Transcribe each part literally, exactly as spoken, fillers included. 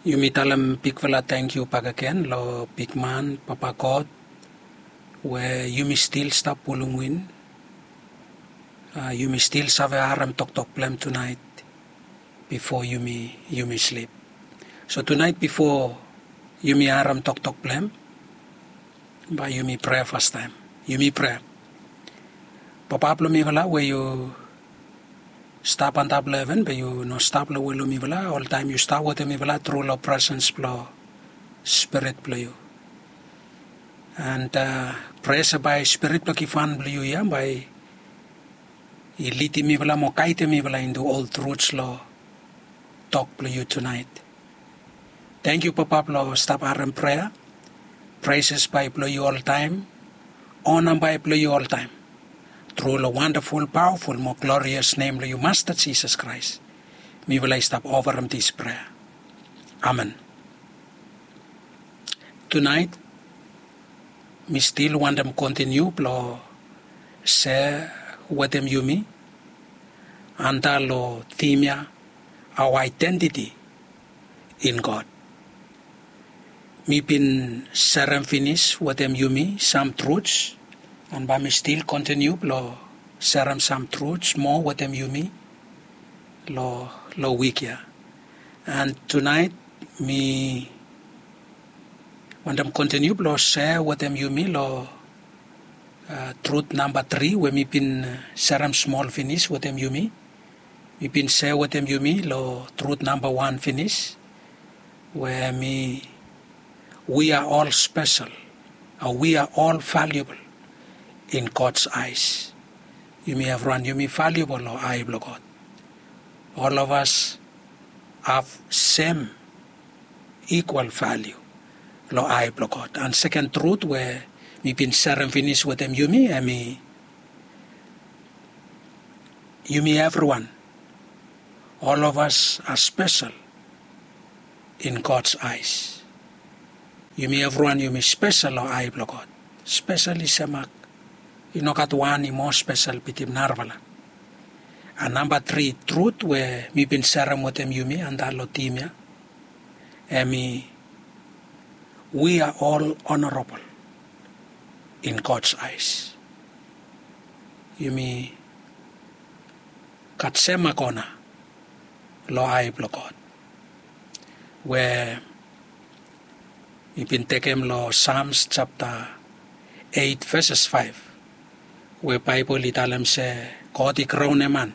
Yumi talem bigfala tangkiu bakegen long bigman Papa God, we yumi stil stap pulum win. Yumi stil save harem toktok blong hem tunaet bifo yumi yumi slip. So tunaet bifo yumi harem toktok blong hem, bae yumi prea fastaem. Yumi prea. Papa blong mifala we yu stap antap long heven, be yu no stap long we long mifala. Oltaem yu stap wetem mifala tru long presens blong Spirit blong yu. And prea se bae Spirit blong givhan blong yu ya bae i lidim mifala mo gaedem mifala intu ol truts long tok blong yu tunaet. Tangkiu Papa blong stap harem prea. Preses bae blong yu oltaem. Ona bae blong yu oltaem. Tru long wandaful, pawaful mo glorias nem blong yu Masta Jisas Kraes, mifala i stap ofarem dis prea. Amen. Tunaet mi stil wantem kontiniu blong sea wetem yumi antap long tim ya, our identity in God. Mi bin serem finis wetem yumi sam truts, and bae mi stil kontiniu blong serem sam truts moa wetem yumi long wik ya. And tunaet mi wantem kontiniu blong sea wetem yumi long trut namba tri we mi bin serem smol finis wetem yumi. Mi bin sea wetem yumi long trut namba wan finis, we mi, we are all special, we are all valuable in God's eyes. Yumi evriwan yumi valuable long ae blong God. All of us have same equal value long ae blong God. And seken trut we mi bin serem finis wetem yumi, hemi yumi evriwan, all of us are special in God's eyes. Yumi evriwan yumi spesel long ae blong God. Spesel i semak. I no gat wan i moa spesel bitim narafala. And namba tri trut we mi bin serem wetem yumi antap long tim ya, hemi, we are all honorable in God's eyes. Yumi gat semak ona long ae blong God. We mi bin tekem long Psalms japta eit veses faef, we Baebol i talem se God i kraunem man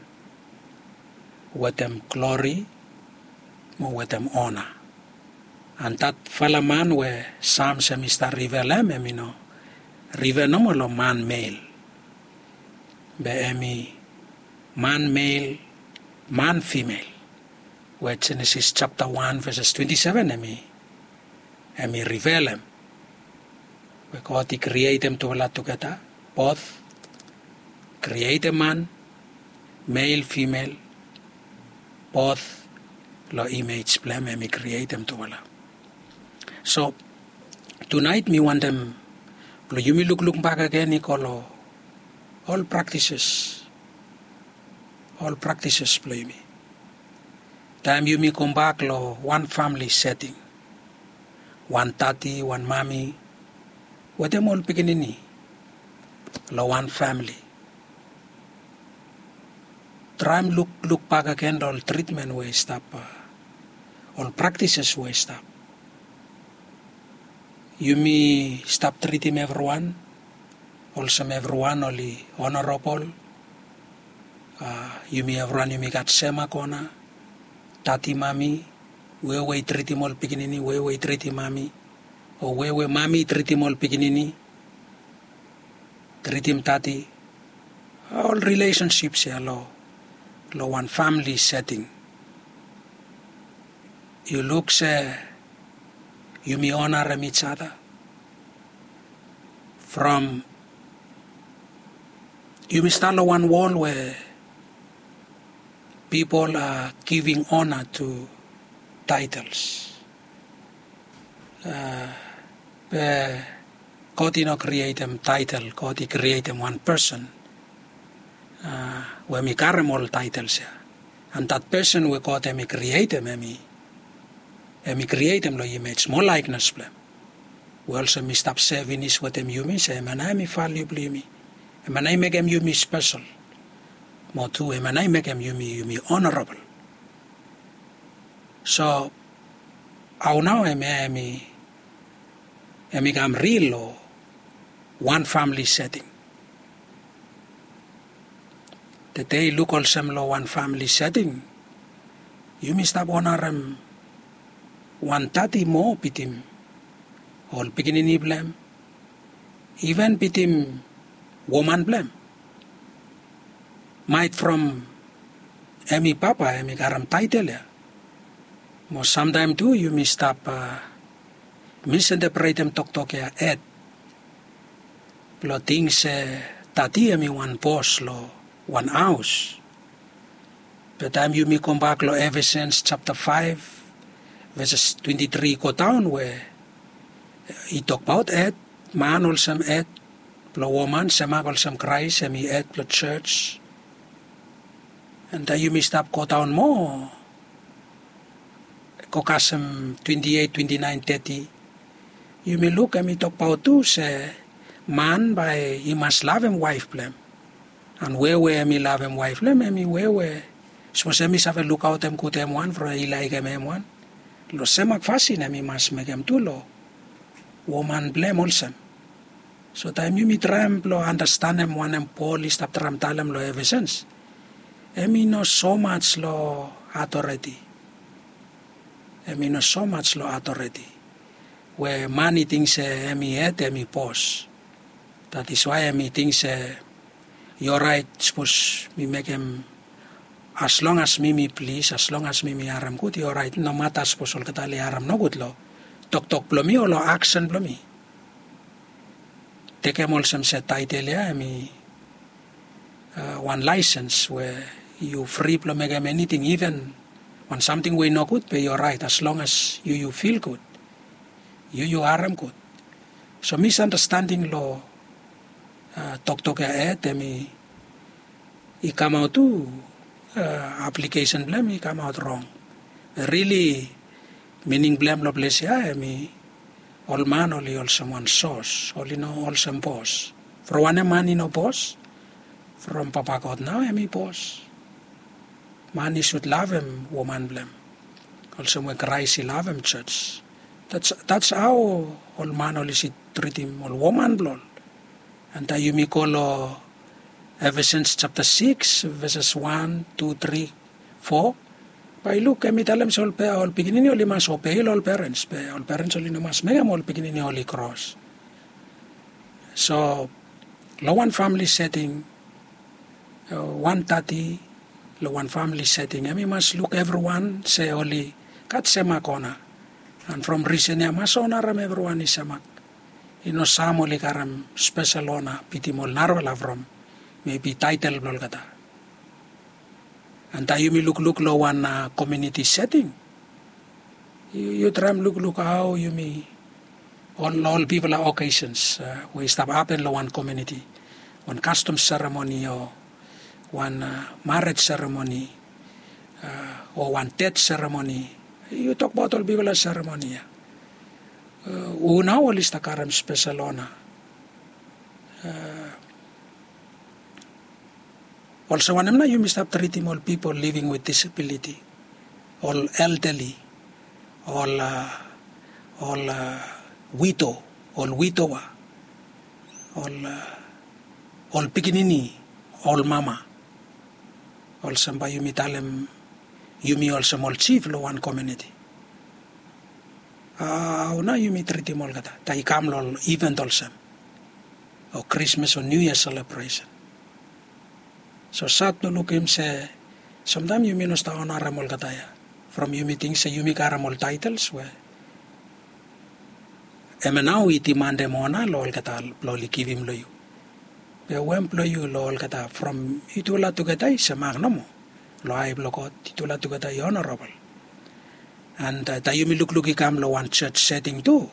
wetem glori mo wetem ona. And datfala man we Psalms hemi stap rifelem, hemi no rifel nomo long man mel, be hemi man mel, man fimel, we Jenesis japta wan veses twenti seven hemi, hemi rifelem, we God i krietem tufala tugeta, both krietem man, mel, fimel, both long imej blong hem hemi krietem tufala. So tunaet mi wantem blong yumi lukluk bakegen i go long ol praktises, ol praktises blong yumi. Taem yumi gobak long wan famili seting, wan dadi, wan mami wetem ol pikinini long wan famili. Traem lukluk bakegen long ol tritmen we i stap, ol praktises we i stap. Yumi stap tritim evriwan olsem evriwan oli honorabol. Yumi evriwan yumi gat semak ona. Dadi, mami, wewe i tritim ol pikinini, wewe i tritim mami, o wewe mami i tritim ol pikinini, tritim dadi. Ol rilesensip ya long wan famili seting, yu luk se yumi onarem ij ada. From yumi stap long wan wol we pipol a giving ona tu taetels. Be God i no krietem taetel, God i krietem wan pesen we hemi karem ol taetels ya. And dat pesen we God hemi krietem hemi, Em i krietem long imej mo laeknes blong em, we olsem mi stap se finis wetem yumi se em ya nao em i valiu blong yumi. Em ya nao i mekem yumi spesel, mo tu em ya nao i mekem yumi yumi onorabel. So hao nao em ya em i em i kam ril long wan famili seting? Tede i luk olsem long wan famili seting yumi stap onarem wan tati moa bitim ol pikinini blong em, iven bitim woman blong em. Maet from em i papa em i karem taetel ya. Mo samtaem tu yumi stap misintepretem toktok ya et blong ting se tati em i wan bos long wan haos. Be taem yumi gobak long Efesens japta faef veses twenti tri i godaon we i tokbaot et, man olsem et blong woman semak olsem Kraes em i et blong jos. Enta yumi stap godaon moa go kasem twenti eit, twenti naen, teti, yumi luk em i tokbaot tu se man bae i mas lavem waef blong em. An we we em i lavem waef blong em em i we we sapos em i save lukaotem gud em wan from i laekem em wan, long semak fasin em i mas mekem tu long woman blong em olsem. So taem yumi traem blong andastanem wanem Pol i stap traem talem long Efesens, em i no somaj long atoreti. Em i no somaj long atoreti we man i ting se em i hed em i bos. That is why em i ting se i oraet sapos mi mekem, as long as mi mi plis, as long as mi mi harem gud i oraet, nomata sapos olgeta oli harem nogud long toktok blong mi o long aksen blong mi. Tekem olsem se taetel ya em i wan laesens we yu fri blong mekem eniting, iven wan samting we i nogud be yu oraet as long as yu yu fil gud, yu yu harem gud. So misandastending long toktok ya et em i i kamaot tu, aplikesen blong em i kamaot rong. Rili mining blong em long ples ya em i ol man oli olsem wan sos, oli no olsem bos. From wanem man i no bos? From Papa God nao em i bos. Man i sud lavem woman blong em olsem we Kraes i lavem jos. That's how ol man oli sud tritim ol woman blong ol. Enta yumi go long Efesens japta sikis veses wan, tu, tri, fo, bae yu luk em i talem se ol pikinini oli mas obei long ol perens be ol perens oli no mas mekem ol pikinini oli kros. So long wan famili seting, wan tati long wan famili seting em i mas luk evriwan se oli gat semak ona. An from risen ya mas onarem evriwan i semak. I no sam oli karem spesel ona bitim ol narafala from mebi taetel blong olgeta. Enta yumi lukluk long wan komiuniti seting, yu traem lukluk hao yumi ol ol bigfala okesens we i stap hapen long wan komiuniti, wan kastom seremoni o wan marej seremoni o wan ded seremoni. Yu tokbaot ol bigfala seremoni ya, hu nao oli stap karem spesel ona? Olsem wanem nao yumi stap tritim ol pipol living with disabiliti, ol eldali, ol ol wido, ol widowa, ol ol pikinini, ol mama? Olsem bae yumi talem yumi olsem ol jif long wan komiuniti. Hao nao yumi tritim olgeta taem i kam long ol iven olsem o Krismas o Niu Yia selebresen? So sad blong lukim se samtaem yumi no stap onarem olgeta ya from yumi ting se yumi karem ol taetels we em ya nao i dimandem ona long olgeta blong oli givim long yu. Be wem blong yu long olgeta from yutufala tugeta i semak nomo long ae blong God, yutufala tugeta i onarabol. An taem yumi lukluk i kam long wan jos seting tu,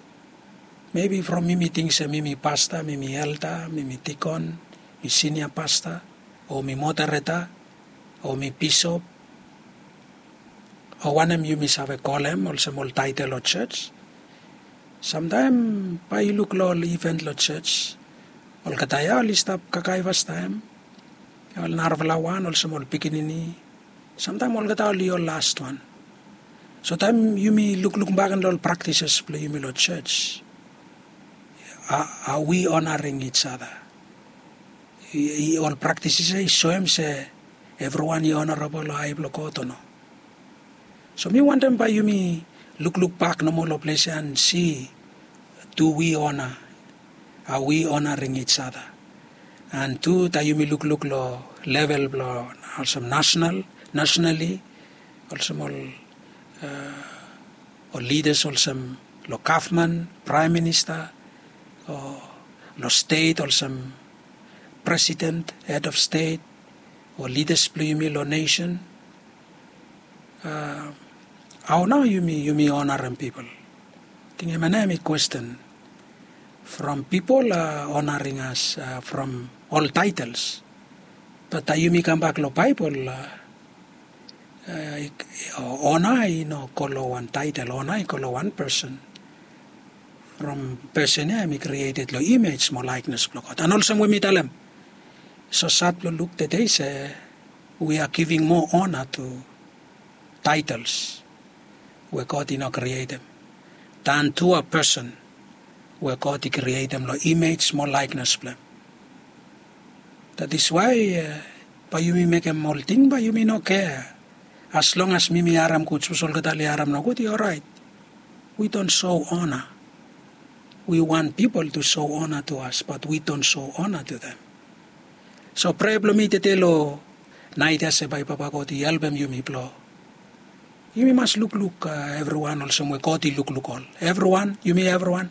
mebi from mi mi ting se mi mi pasta, mi mi elda, mi mi dikon, mi sinia pasta, o mi modereta, o mi bisop, o wanem yumi save kolem olsem ol taetel long jos. Samtaem bae yu luk long ol iven long jos, olgeta ya oli stap kakae fastaem. Ol narafala wan olsem ol pikinini, samtaem olgeta oli ol lastwan. So taem yumi lukluk bak long ol praktises blong yumi long jos, a wi onaring ijada? Ol praktises ya i soem se evriwan i onarabol long ae blong God o no? So mi wantem bae yumi lukluk bak nomo long ples ya an si, tu wi ona? A wi onaring ijada? An tu taem yumi lukluk long level blong olsem nasenal, nasenali, olsem ol lidas olsem long gavman, praem minista, o long stet olsem presiden, hed of stet, o lidas blong yumi long nesen, hao nao yumi yumi onarem pipol? Ting em ya nao em i kwesten. From pipol a onaring as from ol taetels. Bat taem yumi kambak long Baebol, ona i no go long wan taetel, ona i go long wan pesen. From pesen ya em i krieted long imej mo laeknes blong God. An olsem we mi talem, so sad blong luk tede se wi a giving moa ona tu taetels we God i no krietem dan tu a pesen we God i krietem long imej mo laeknes blong hem. That is why bae yumi mekem ol ting bae yumi no kea. As long as mi mi harem gud, sapos olgeta oli harem nogud, i oraet. We don't show honor. We want people to show honor to us, but we don't show honor to them. So prea blong mi tede long naet ya se bae Papa God i helpem yumi blong yumi mas lukluk evriwan olsem we God i lukluk ol. Evriwan, yumi evriwan,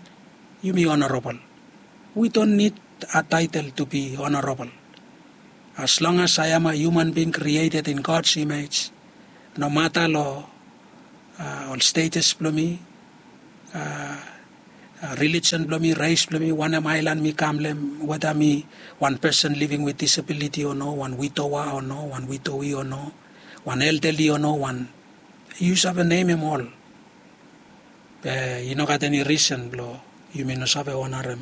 yumi honorabol. We don't need a title to be honorable. As long as I am a human being created in God's image, nomata long ol status blong mi, religion blong mi, res blong mi, wanem aelan mi kam long hem, weda mi wan person living with disability o no, wan widowa o no, wan widowi o no, wan elderly o no, wan, yu save nemem ol. Be i no gat eni risen blong yumi no save onarem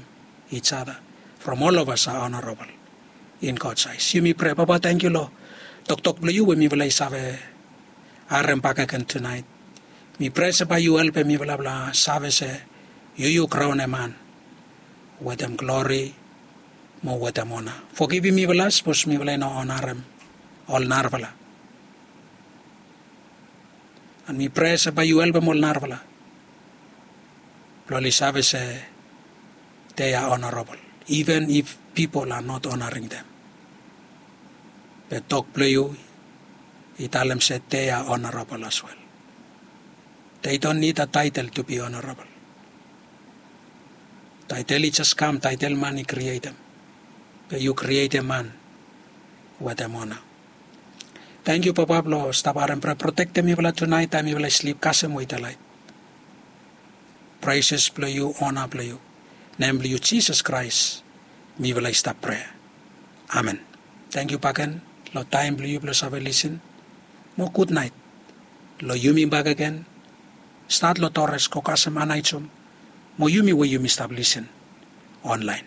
each other. From all of us are honorable in God's eyes. Yumi prea, Papa, tangkiu long toktok blong yu we mifala i save harem bakegen tunaet. Mi prea se bae yu helpem mifala blong save se yu yu kraonem man wetem glori mo wetem ona. Fogivim mifala sapos mifala i no onarem ol narafala. An mi prea se bae yu helpem ol narafala blong oli save se they are honorable, even if people are not honoring them. Be tok blong yu i talem se they are honorable as well. They don't need a title to be honorable. Title i jes kam, title man i krietem. Be yu krietem man wetem ona. Tangkiu, Papa, blong stap harem prea. Protektem mifala tunaet taem mifala i slip, kasem we i delaet. Praises blong yu, ona blong yu. Nem blong yu Jisas Kraes mifala i stap prea. Amen. Tangkiu bakegen long taem blong yu blong save lisin. Mo gudnaet long yumi bakegen. Stat long Torres go kasem Anaejem mo yumi we yumi stap lisin onlaen.